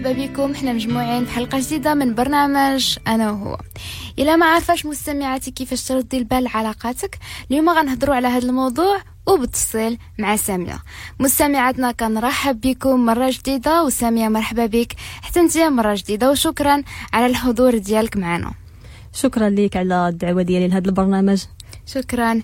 مرحبا بكم، حنا مجموعين في حلقة جديدة من برنامج أنا وهو. إلا ما عارفاش مستمعاتي كيفاش تردي البال لعلاقاتك، اليوم غنهضروا على هذا الموضوع وبالتفصيل مع سامية. مستمعاتنا كنرحب بكم مرة جديدة، وسامية مرحبا بك حتى انت مرة جديدة، وشكرا على الحضور ديالك معنا. شكرا لك على الدعوة ديالي لهذا البرنامج. شكرا.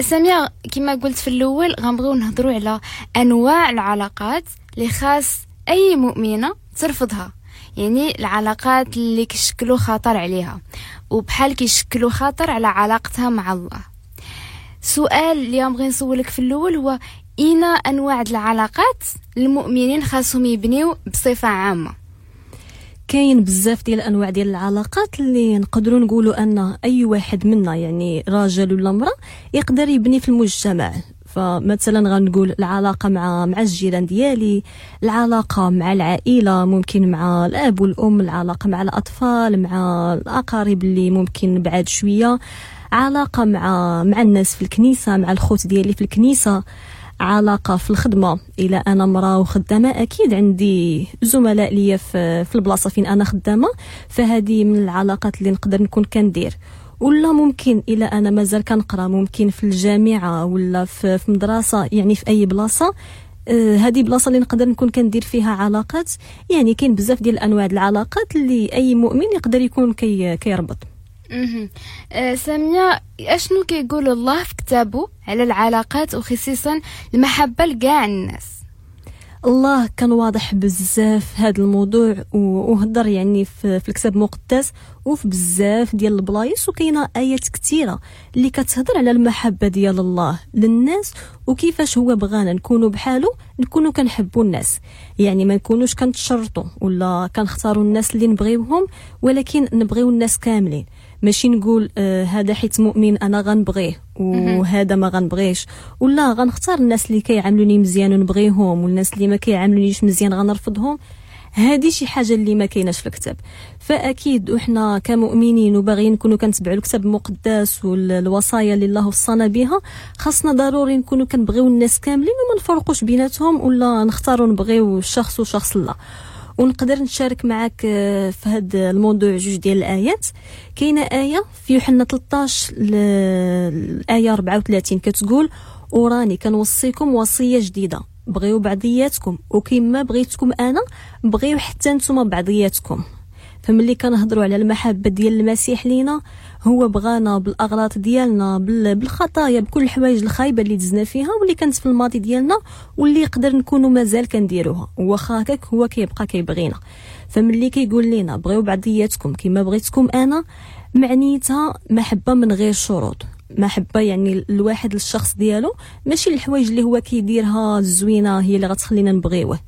سامية، كما قلت في الأول غنبغيو نهضروا على أنواع العلاقات اللي خاص أي مؤمنة ترفضها، يعني العلاقات اللي كيشكلوا خطر عليها وبحال كيشكلوا خطر على علاقتها مع الله. سؤال اللي بغي نسولك في الأول هو إينا أنواع العلاقات المؤمنين خاصهم يبنيو بصفة عامة؟ كاين بزاف ديال الانواع ديال العلاقات اللي نقدروا نقولوا ان اي واحد منا، يعني راجل ولا امراة، يقدر يبني في المجتمع. فمثلا غنقول العلاقة مع الجيران ديالي، العلاقة مع العائلة، ممكن مع الاب والام، العلاقة مع الاطفال، مع الاقارب اللي ممكن بعاد شوية، علاقة مع الناس في الكنيسة، مع الخوت ديالي في الكنيسة، علاقة في الخدمة. إلا أنا مرأة وخدامة أكيد عندي زملاء ليا في البلاصة فين أنا خدامة، فهذه من العلاقات اللي نقدر نكون كندير. ولا ممكن إلا أنا مازال كنقرا، ممكن في الجامعة ولا في مدرسة، يعني في أي بلاصة، هذه بلاصة اللي نقدر نكون كندير فيها علاقات. يعني كاين بزاف ديال الأنواع العلاقات اللي أي مؤمن يقدر يكون كيربط. سامية، أشنو كيقول الله في كتابه على العلاقات وخصيصا المحبة لكاع الناس؟ الله كان واضح بزاف هذا الموضوع وهضر يعني في الكتاب المقدس وفي بزاف ديال البلايص، وكاينه ايات كثيرة اللي كتهضر على المحبة ديال الله للناس وكيفاش هو بغانا نكونوا بحالو، نكونوا كنحبوا الناس، يعني ما نكونوش كنتشرطوا ولا كنختاروا الناس اللي نبغيوهم، ولكن نبغيو الناس كاملين. ماشي نقول هذا حيت مؤمن انا غنبغيه وهذا ما غنبغيش، ولا غنختار الناس اللي كيعاملوني مزيان ونبغيهم والناس اللي ما كيعاملونيش مزيان غنرفضهم. هذه شي حاجة اللي ما كايناش في الكتاب. فاكيد وحنا كمؤمنين وباغيين نكونوا كنتبعوا الكتاب المقدس والوصايا اللي الله وصانا بها، خاصنا ضروري نكونوا كنبغيو الناس كاملين وما نفرقوش بيناتهم ولا نختاروا نبغيو شخص وشخص لا. ونقدر نشارك معك في هذا الموضوع جوج ديال الايات. كاينه ايه في يوحنا 13 الايه 34 كتقول: وراني كنوصيكم وصية جديدة، بغيو بعضياتكم وكما بغيتكم انا بغيو حتى نتوما بعضياتكم. فملي كنهضروا على المحبة ديال المسيح لينا، هو بغانا بالاغلاط ديالنا، بالخطايا، بكل الحوايج الخايبة اللي دزنا فيها واللي كانت في الماضي ديالنا واللي يقدر نكونوا مازال كنديروها، واخا هكاك هو كيبقى كيبغينا. فملي كيقول لنا بغيو بعضياتكم كما بغيتكم انا، معنيتها محبة من غير شروط، محبة يعني الواحد للشخص ديالو، ماشي الحوايج اللي هو كيديرها الزوينة هي اللي غتخلينا نبغيوه.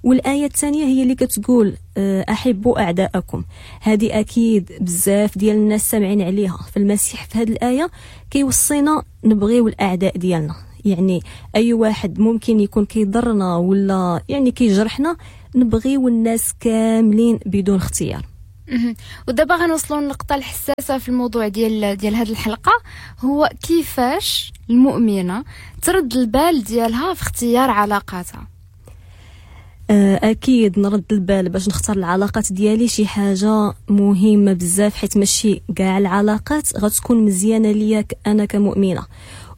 والآية الثانية هي اللي كتقول أحبوا أعداءكم. هذه أكيد بزاف ديال الناس سامعين عليها. فالمسيح في هذه الآية كيوصينا نبغيو الأعداء ديالنا، يعني أي واحد ممكن يكون كيضرنا ولا يعني كيجرحنا، نبغيو الناس كاملين بدون اختيار. ودابا غنوصلوا للنقطة الحساسة في الموضوع ديال هذه الحلقة، هو كيفاش المؤمنة ترد البال ديالها في اختيار علاقاتها. اكيد نرد البال باش نختار العلاقات ديالي شي حاجة مهمة بزاف، حيت ماشي كاع العلاقات غتكون مزيانه ليا انا كمؤمنه.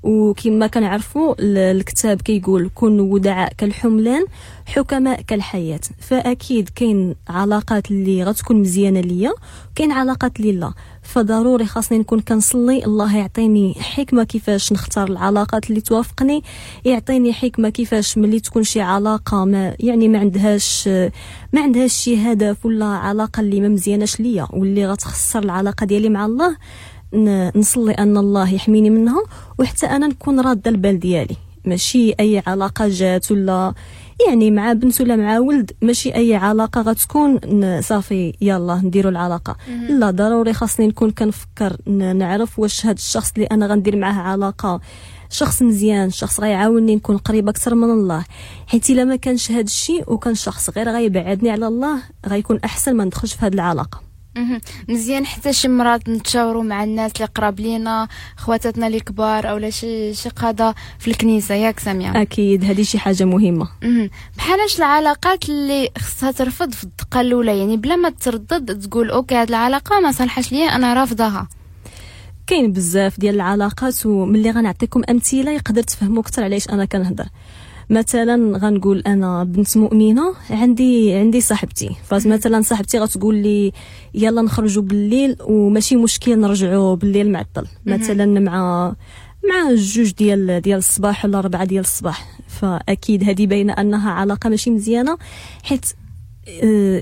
وكما كنعرفوا الكتاب كيقول كونوا ودعاء كالحملان حكماء كالحياة. فاكيد كاين علاقات اللي غتكون مزيانه ليا، كاين علاقات اللي لا. فضروري خاصني نكون كنصلي الله يعطيني حكمه كيفاش نختار العلاقات اللي توافقني، يعطيني حكمه كيفاش ملي تكون شي علاقة ما يعني ما عندهاش شي هدف ولا علاقة اللي ما مزياناش ليا واللي غتخسر العلاقة ديالي مع الله، نصلي ان الله يحميني منها، وحتى انا نكون راده البال ديالي. ماشي اي علاقة جات ولا يعني مع بنت ولا مع ولد، ماشي اي علاقة غتكون صافي يلا نديروا العلاقة. لا، ضروري خاصني نكون كنفكر، نعرف واش هذا الشخص اللي انا غندير معاه علاقة شخص مزيان، شخص غيعاونني نكون قريبه اكثر من الله. حيت الا ما كانش هذا الشيء وكان شخص غير غيبعدني على الله، غيكون احسن ما ندخلش في هذه العلاقة. مزيان حتى شي مرات نتشاوروا مع الناس اللي قراب لينا، خواتاتنا اللي كبار اولا شي قاده في الكنيسه، ياك ساميه؟ اكيد هذه شي حاجه مهمه. بحالاش العلاقات اللي خصها ترفض في الدقه الاولى، يعني بلا ما تردد تقول OK هاد العلاقه ما صالحاش ليا، انا رافضاها؟ كاين بزاف ديال العلاقات، وملي غنعطيكم امثله يقدر تفهموا اكثر علاش انا كنهضر. مثلا غنقول انا بنت مؤمنه، عندي صاحبتي، فمثلا صاحبتي غتقول لي يلا نخرجوا بالليل وماشي مشكل نرجعوا بالليل معطل، مثلا مع 2 ديال الصباح ولا 4 ديال الصباح. فاكيد هذه باينه انها علاقه ماشي مزيانه، حيت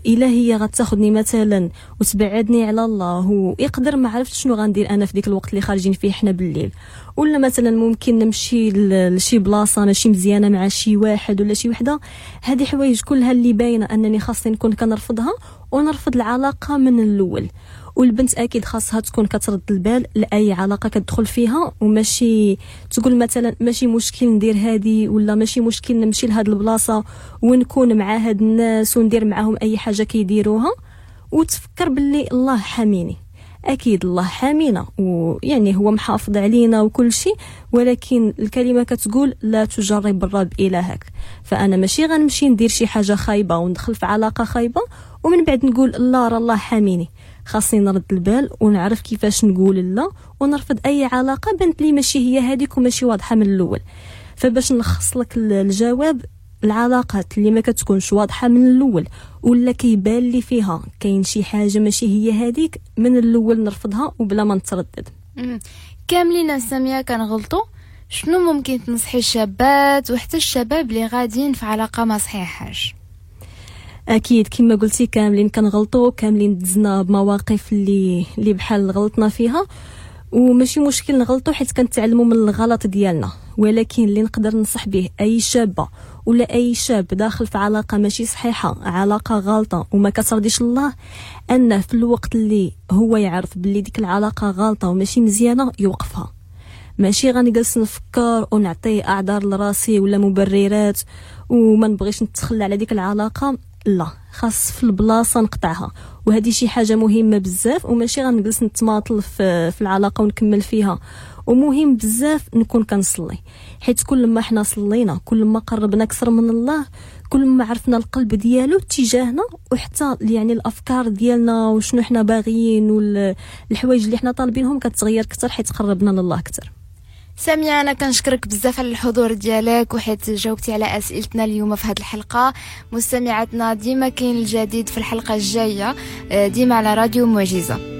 الا هي غتاخذني مثلا وتبعدني على الله، ويقدر ما عرفت شنو غندير انا في ديك الوقت اللي خارجين فيه حنا بالليل، ولا مثلا ممكن نمشي لشي بلاصه ماشي مزيانه مع شي واحد ولا شي وحده. هذه حوايج كلها اللي باينه انني خاصني نكون كنرفضها ونرفض العلاقه من الاول. والبنت اكيد خاصها تكون كترد البال لاي علاقه كتدخل فيها، وماشي تقول مثلا ماشي مشكل ندير هذه ولا ماشي مشكل نمشي لهاد البلاصه ونكون مع هاد الناس وندير معاهم اي حاجه كيديروها، وتفكر باللي الله حاميني. اكيد الله حامينا ويعني هو محافظ علينا وكل شيء، ولكن الكلمه كتقول لا تجرب الرب الهك. فانا ماشي غنمشي ندير شي حاجه خايبه وندخل في علاقه خايبه ومن بعد نقول لا راه الله حاميني. خاصني نرد البال ونعرف كيفاش نقول لا، ونرفض اي علاقه بنت لي ماشي هي هذيك وماشي واضحه من الاول. فباش نلخص لك الجواب، العلاقات اللي ما كتكونش واضحه من الاول ولا كيبان لي فيها كاين شي حاجه ماشي هي هذيك، من الاول نرفضها وبلا ما نتردد. كاملين ساميه كنغلطوا. شنو ممكن تنصحي الشابات وحتى الشباب اللي غاديين في علاقه ما صحيحاش؟ اكيد كما قلتي كاملين كنغلطوا، كاملين دزنا بمواقف اللي بحال غلطنا فيها، وماشي مشكل نغلطوا حيت كنتعلموا من الغلط ديالنا. ولكن اللي نقدر ننصح به اي شابه ولا اي شاب داخل في علاقه ماشي صحيحه، علاقه غلطه وما كترضيش الله، انه في الوقت اللي هو يعرف باللي ديك العلاقه غلطه وماشي مزيانه يوقفها. ماشي غنجلس نفكر ونعطي اعذار لراسي ولا مبررات وما نبغيش نتخلى على ديك العلاقه، لا، خاص في البلاصه نقطعها. وهذه شي حاجه مهمه بزاف، وماشي غنجلس نتماطل في العلاقه ونكمل فيها. ومهم بزاف نكون كنصلي، حيت كل ما حنا صلينا كل ما قربنا اكثر من الله، كل ما عرفنا القلب ديالو تجاهنا، وحتى يعني الافكار ديالنا وشنو حنا باغيين والحوايج اللي حنا طالبينهم كتغير اكثر حيت قربنا لله اكثر. سامية أنا كنشكرك بزاف على الحضور ديالك وحيت جاوبتي على أسئلتنا اليوم في هذه الحلقة. مستمعاتنا ديما كاين الجديد في الحلقة الجاية، ديما على راديو معجزة.